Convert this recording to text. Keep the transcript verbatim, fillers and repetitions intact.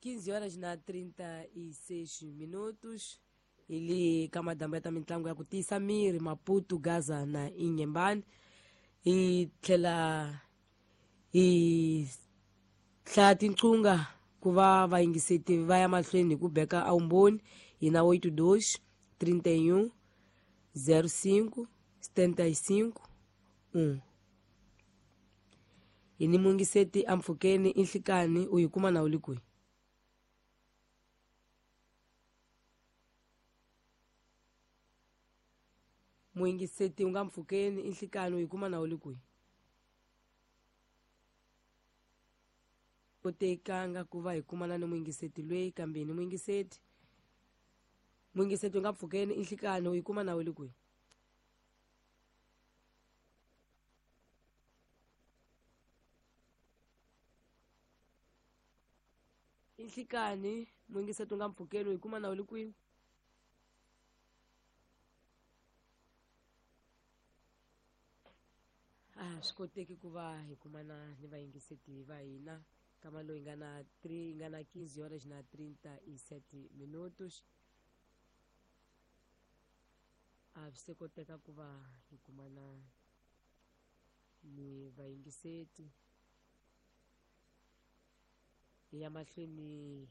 quinze horas na trinta e seis minutos. Ili ka madambu ya ta mitlangu ya ku tiyisa miri Maputo, Gaza na Inhambane. Hi tlhela hi hlaya tinqunga ku va vayingiseti va ya mahlweni hi ku beka awumboni hi na oito dois trinta e um zero cinco setenta e cinco um. Hi ni muyingiseti ampfhukeni i nhlikani u yi kuma na u le kwihi? Muyingiseti u nga mpfhukeni i nhlikani u yi kuma na u le kwihi? Kotekanga ku va hi kumana ni muyingiseti loyi kambe hi ni muyingiseti. Muyingiseti u nga mpfhukeni i nhlikani u yi kuma na u le kwihi? I nhlikani muyingiseti u nga mpfhukeni u yi kuma na u le kwihi? A swi koteki ku va hi kumana ni vayingiseti va hina kama loyi nga na three nga na quinze horas na trinta e sete minutos. A swi se koteka ku va hi kumana ni vayingiseti. Hi ya mahlweni